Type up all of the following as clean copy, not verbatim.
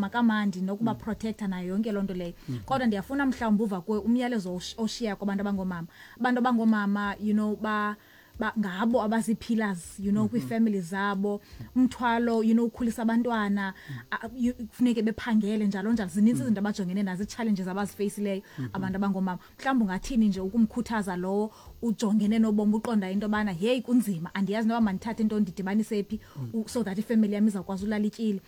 mama kamandi nokuba protector nayo yonke loo nto leyo. Kodwa ndiyafuna mhlawumbi uva kuwe umyalezo oshiya kwabantu abangomama, abantu abangomama, you know ba ba ngabo abazi-pillars kwii-family zabo, umthwalo ukhulisa abantwana, kufuneke bephangele, njalo njalo. Zininzi izinto abajongene nazo, ii-challenges abazifeyisileyo abantu abangomama. Mhlawumbi ungathini nje ukumkhuthaza lowo ujongene nobomi, uqonda into yobana, "Heyi, kunzima, andiyazi noba mandithathe into ndidibanise phi so that ifamily yam izawukwazi ulala ityile?"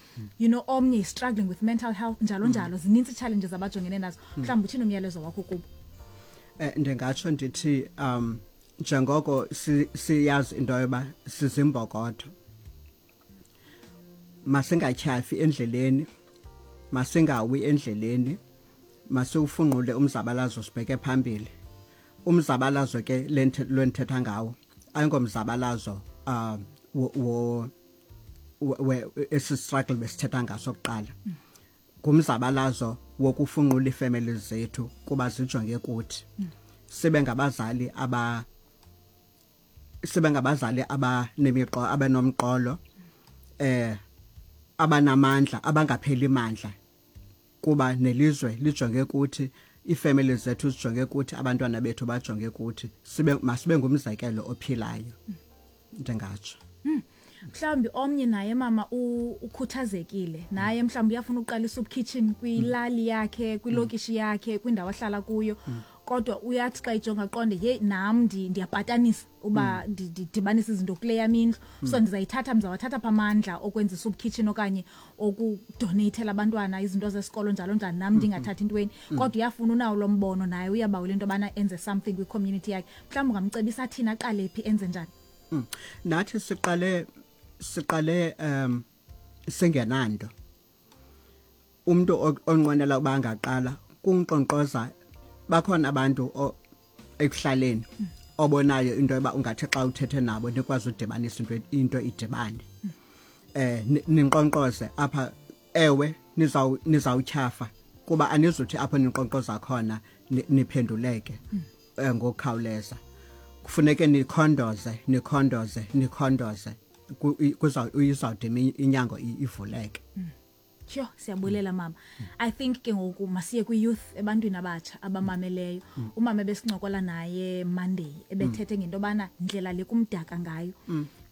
Omnye is struggling with mental health, njalo njalo. Zinintsi ii-challenges abajongene nazo. Mhlawumbi uthini umyalezo wakho kubo? Ndingatsho ndithi njengoko siyazi into yoba sizimbokotho, masingatyhafi endleleni, masingawi endleleni, masiwufunqule umzabalazo sibheke phambili. Umzabalazo ke lwendithetha ngawo ayingomzabalazo wo esi struggle besithetha ngaso kuqala, ngumzabalazo wokufunqula iifemeli zethu kuba zijonge kuthi. Sibe ngabazali abanemiqo, abanomqolo, abanamandla, abangapheli mandla, kuba nelizwe lijonge kuthi, iifemeli zethu zijonge kuthi, abantwana bethu bajonge kuthi. Sibe masibe ngumzekelo ophilayo, ndingatsho. Mhlawumbi omnye naye mama ukhuthazekile naye, mhlawumbi uyafuna uqala i-soup kitchen kwilali yakhe, kwilokishi yakhe, kwindawo ahlala kuyo, kodwa uyathi xa ijonga aqonde, "Yeyi, nam ndiyapatanisa uba ndidibanise izinto kule yam indlu, so ndizayithatha, ndizawathatha pha amandla okwenza i-soup kitchen okanye okudoneyithela abantwana izinto zesikolo, njalo njalo, nam ndingathathi intweni." Kodwa uyafuna, unawo lo mbono naye, uyabawela into yobana enze something kwicommunity yakhe. Mhlawumbi ungamcebisa athini, aqale phi, enze njani? Nathi siqale singenanto. Umuntu onqwenela uba angaqala kunkqonkqoza, bakhona abantu ekuhlaleni obonayo into yoba ungathi xa uthethe nabo nikwazi udibanisa into idibane, ninkqonkqoze apha. Ewe, nizawutyhafa kuba anizuthi apho ninkqonkqoza khona niphenduleke ngokukhawuleza. Kufuneke nikhondoze, nikhondoze, nikhondoze, izawude inyango ivuleke. Sure, siyabulela mama. I think ke ngoku masiye kwi-youth, ebantwini abatsha abamameleyo. Umama ebesincokola naye Monday ebethethe ngento yobana ndlela le kumdaka ngayo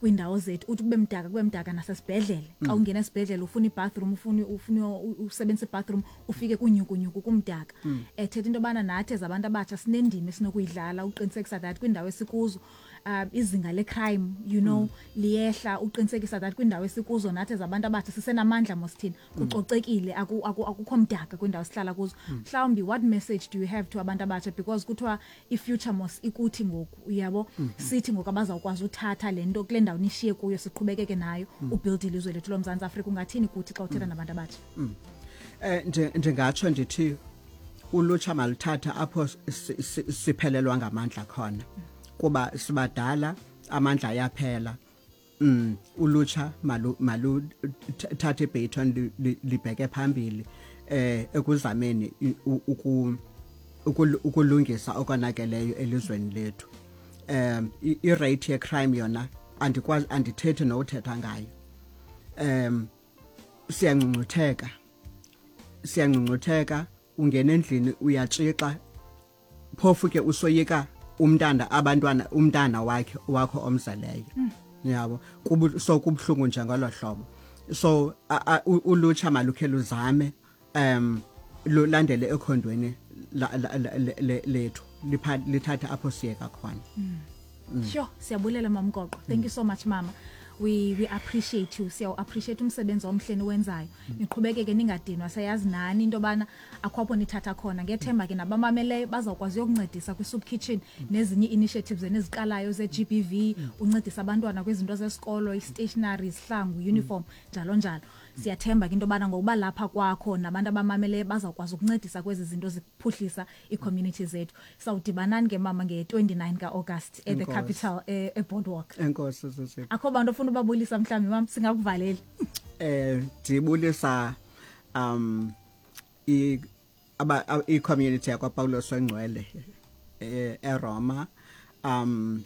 kwiindawo zethu. Uthi kube mdaka, kube mdaka nasesibhedlele. Xa ungena esibhedlele ufuna ibathroom, ufuna usebenzisa ibathroom, ufike kunyukunyuku, kumdaka. Ethetha into yobana nathi as abantu abatsha sinendima esinokuyidlala uqinisekisa that kwiindawo esikuzo izinga le-crime liyehla, uqinisekisa that kwiindawo esikuzo nathi as abantu abatsha sisenamandla mos thina, kucocekile, akukho mdaka kwiindawo esihlala kuzo. Mhlawumbi what message do you have to abantu abatsha? Because kuthiwa i-future mos ikuthi ngoku, uyabo, sithi ngoku abazawukwazi uthatha le nto kule ndawo nishiye kuyo, siqhubekeke nayo ubuild ilizwe lethu loMzantsi Afrika. Ungathini kuthi xa uthetha nabantu abatsha? Ndingatsho ndithi ulutsha maluthatha apho siphelelwa ngamandla khona, kuba sibadala, amandla ayaphela. Ulutsha malu thathe ibaton, libheke phambili ekuzameni ukulungisa okonakeleyo elizweni lethu. I-rate ye-crime yona andikwazi, andithethi nowuthetha ngayo. Siyangcungcutheka, siyangcungcutheka. Ungena endlini uyatshixa, phofu ke usoyika umntana, abantwana, umntana wakhe, wakho omzeleyo, yabo. So kubuhlungu nje ngolo hlobo. So ulutsha malukhe luzame lulandele ekhondweni lethu, lithathe apho siyeka khona. Sure, siyabulela Mamgoqo. Thank you so much, mama. We appreciate you. Siyawu appreciate umsebenzi omhle niwenzayo. Niqhubekeke ningadinwa, siyayazi nani into bana akho apho nithatha khona. Ngethemba ke nabamameleyo bazawukwazi uyokuncedisa kwi-soup kitchen nezinye initiatives eniziqalayo ze-GBV, uncedisa abantwana kwizinto zesikolo, i-stationery, izihlangu, uniform, njalo njalo. Siyathemba ke into yobana ngokuba lapha kwakho nabantu abamameleyo bazawukwazi ukuncedisa kwezi zinto ziphuhlisa ii-community zethu. Sawudibanani ke mama nge-29 ka-August at the Enkosi. Capital eBoardwalk. Enkosi, sisi. Akho bantu ofuna ubabulisa mhlawumbi mam, singakuvaleli? Ndibulisa i aba i-community yakwaPaulos Ongcwele eRoma.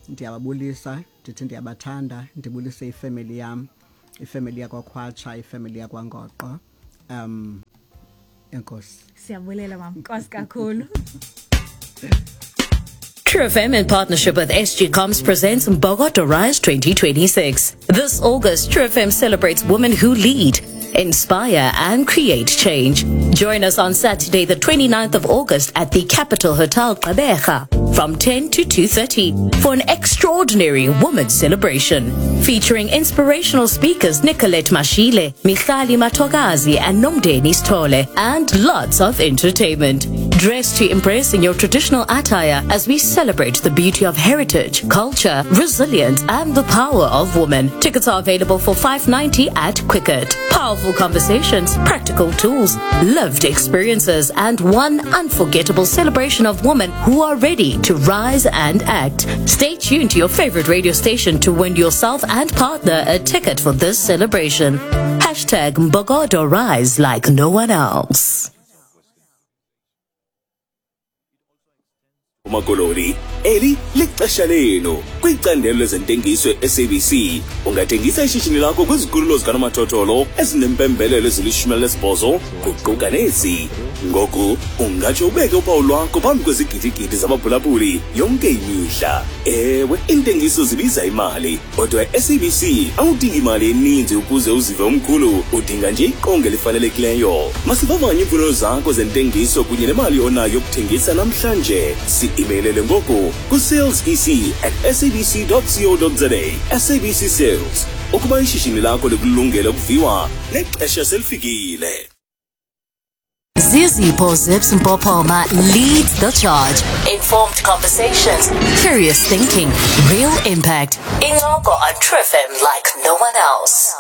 Ndiyababulisa, ndithi ndiyabathanda. Ndibulise ifamily yam, ifamily yakwaKhwatsha, ifamily yakwaNgoqo. Enkosi. Siyabulela mama, nkosi kakhulu. True FM in partnership with SG Comms presents Mbokodo Rise 2026. This August, True FM celebrates women who lead, inspire and create change. Join us on Saturday, the 29th of August at the Capital Hotel Gqeberha from 10 to 2:30 for an extraordinary women's celebration featuring inspirational speakers Nicolette Mashile, Michali Matogazi and Nomdeni Stole, and lots of entertainment. Dress to impress in your traditional attire as we celebrate the beauty of heritage, culture, resilience, and the power of women. Tickets are available for $5.90 at Quicket. Powerful conversations, practical tools, lived experiences, and one unforgettable celebration of women who are ready to rise and act. Stay tuned to your favorite radio station to win yourself and partner a ticket for this celebration. Hashtag Mbokodo Rise like no one else. Makoloni, eli lixesha lenu kwicandelo lezentengiso e-SABC. Ungathengisa ishishini lakho kwizikhululo zikanomathotholo ezinempembelelo ezili-18, kuquka nezi. Ngoku ungatsho ubeke uphawu lwakho phambi kwezigidigidi zabaphulaphuli yonke imihla. Ewe, iintengiso zibiza imali, kodwa e-SABC awudingi imali eninzi ukuze uzive umkhulu, udinga nje iqonga elifanelekileyo. Masivavanye iimfuno zakho zentengiso kunye nemali onayo yokuthengisa namhlanje. Si-imeylele ngoku ku-salesec@sabc.co.za. SABC Sales, ukuba ishishini lakho likulungele ukuviwa, nexesha selifikile. Zizipho Zips Mpopoma leads the charge. Informed conversations, curious thinking, real impact. Incoko on True FM like no one else.